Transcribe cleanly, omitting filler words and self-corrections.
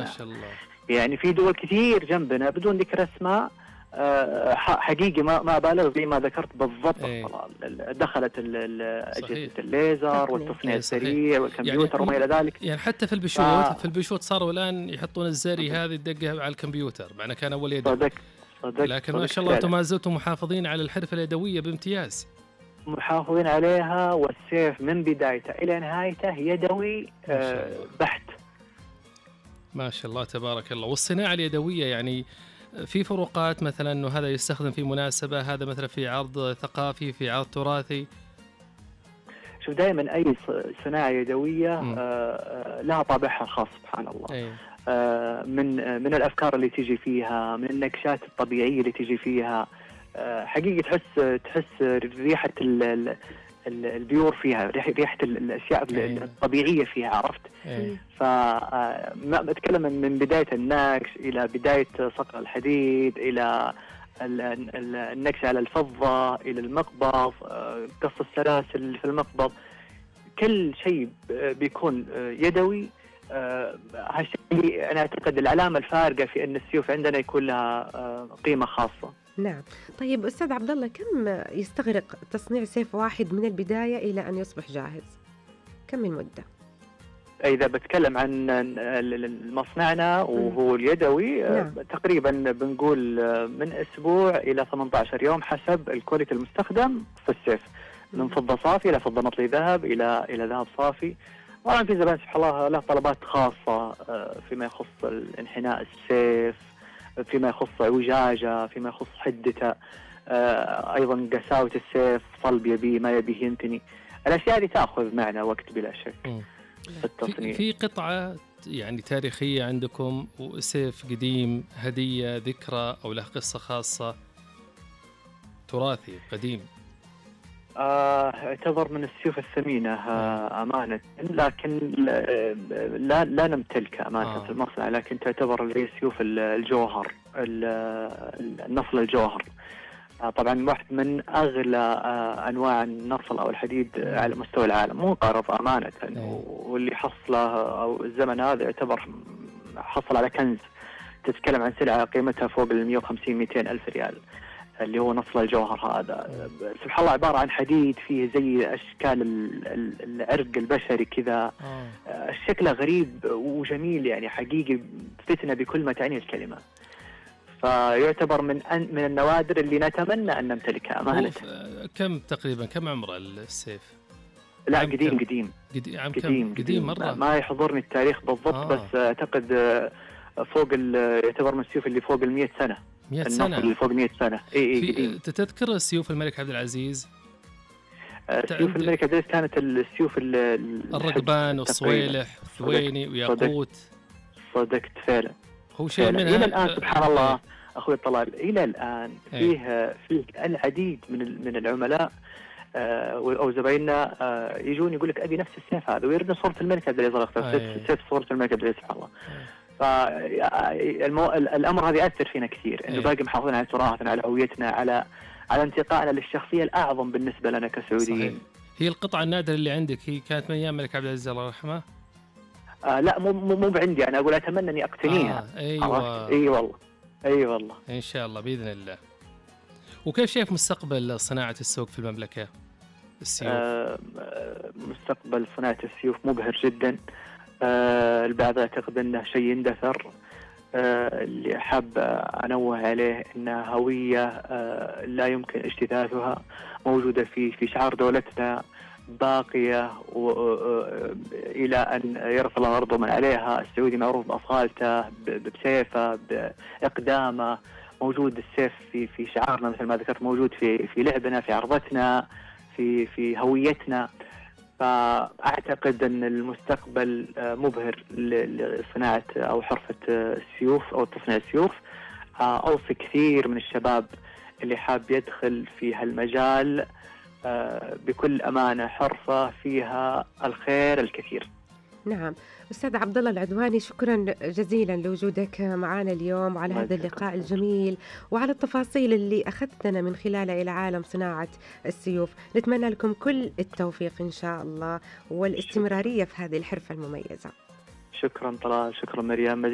شاء الله. يعني في دول كثير جنبنا بدون ذكر اسماء حقيقي ما بالغ زي ما ذكرت بالضبط. دخلت أجهزة الليزر والتصنيع السريع والكمبيوتر وما إلى ذلك. يعني حتى في البشوت صاروا الآن يحطون الزري هذه الدقة على الكمبيوتر، معناه كان أول يدوي. لكن ما شاء الله أنتم ما زلتم محافظين على الحرفة اليدوية بامتياز. محافظين عليها، والسيف من بدايته إلى نهايته يدوي بحت. ما شاء الله تبارك الله. والصناعة اليدوية يعني في فروقات، مثلا أنه هذا يستخدم في مناسبة، هذا مثلا في عرض ثقافي، في عرض تراثي؟ شوف، دائما أي صناعة يدوية لها طابعها الخاص سبحان الله. من الأفكار اللي تيجي فيها، من النكشات الطبيعية اللي تيجي فيها. حقيقة تحس ريحة البيور فيها، ريحة الأشياء الطبيعية فيها، عرفت؟ فما أتكلم من بداية النكش إلى بداية صقر الحديد، إلى النكش على الفضة، إلى المقبض، قص السلاسل في المقبض، كل شيء بيكون يدوي. هالشيء أنا أعتقد العلامة الفارقة في أن السيوف عندنا يكون لها قيمة خاصة. نعم. طيب أستاذ عبد الله، كم يستغرق تصنيع سيف واحد من البداية إلى أن يصبح جاهز؟ كم من مدة؟ إذا بتكلم عن مصنعنا وهو اليدوي، تقريبا بنقول من أسبوع إلى 18 يوم حسب الكواليتي المستخدم في السيف، من فضة صافي إلى فضة مطلي ذهب إلى ذهب صافي. طبعا في زبائن سبحان الله له طلبات خاصة فيما يخص انحناء السيف، فيما يخص اعوجاجه، فيما يخص حدته، ايضا قساوة السيف، صلب يبيه ما يبيه ينتني. الاشياء دي تاخذ معنا وقت بلا شك في التصنيع. في قطعه يعني تاريخيه عندكم، وسيف قديم هديه ذكرى او له قصه خاصه، تراثي قديم؟ اعتبر من السيوف الثمينة أمانة، لكن لا نمتلكها أمانة في المصنع، لكن تعتبر اللي سيوف الجوهر، النصل الجوهر. طبعا واحد من أغلى أنواع النصل أو الحديد على مستوى العالم، مو قارض أمانة. واللي حصله أو الزمن هذا يعتبر حصل على كنز. تتكلم عن سلعة قيمتها فوق 150-200 ألف ريال، اللي هو نصل الجوهر هذا. سبحان الله عبارة عن حديد فيه زي أشكال العرق البشري كذا. الشكل غريب وجميل، يعني حقيقي فتنة بكل ما تعني الكلمة. فيعتبر من النوادر اللي نتمنى أن نمتلكها أمانة. كم تقريبا كم عمر السيف؟ لا قديم مرة، ما يحضرني التاريخ بالضبط. بس أعتقد فوق يعتبر من السيوف اللي فوق 100 سنة. 100 سنة اللي فوق 100 سنة. تذكر السيوف الملك عبد العزيز؟ سيوف الملك عبد العزيز كانت السيوف الرقبان والصويلح والثويني وياقوت. صدقت فعلا. هو شيء منها إلى الآن سبحان الله أخوي طلال، إلى الآن فيه العديد من العملاء أو زبايننا يجون يقول لك أبي نفس السيف هذا، ويردون صورة الملك عبد العزيز. سيف صورة الملك عبد العزيز سبحان الله. فالأمر هذا يأثر فينا كثير، إنه باقي محافظين على تراثنا، على هويتنا، على انتقائنا للشخصية الأعظم بالنسبة لنا كسعوديين. هي القطعة النادرة اللي عندك هي كانت من أيام الملك عبد العزيز الله يرحمه؟ لا مو بعندي، أنا أقول أتمنى أني أقتنيها. أيوة. أي والله إن شاء الله بإذن الله. وكيف شايف مستقبل صناعة السوق في المملكة السيوف؟ مستقبل صناعة السيوف مبهر جدا. البعض يعتقد أنه شيء يندثر. اللي حاب أنوه عليه أنها هوية لا يمكن اجتثاثها، موجودة في شعار دولتنا، باقية إلى أن يرث الله أرضه من عليها. السعودي معروف بأصالته، بسيفه، بإقدامه. موجود السيف في شعارنا مثل ما ذكرت، موجود في لعبنا، في عرضتنا، في هويتنا. فأعتقد أن المستقبل مبهر لصناعة أو حرفة السيوف أو تصنيع السيوف. أوصي كثير من الشباب اللي حاب يدخل في هالمجال بكل أمانة، حرفة فيها الخير الكثير. نعم. أستاذ عبد الله العدواني، شكرا جزيلا لوجودك معنا اليوم وعلى هذا اللقاء الجميل وعلى التفاصيل اللي أخذتنا من خلالها إلى عالم صناعة السيوف. نتمنى لكم كل التوفيق إن شاء الله والاستمرارية في هذه الحرفة المميزة. شكرا طلال، شكرا مريم.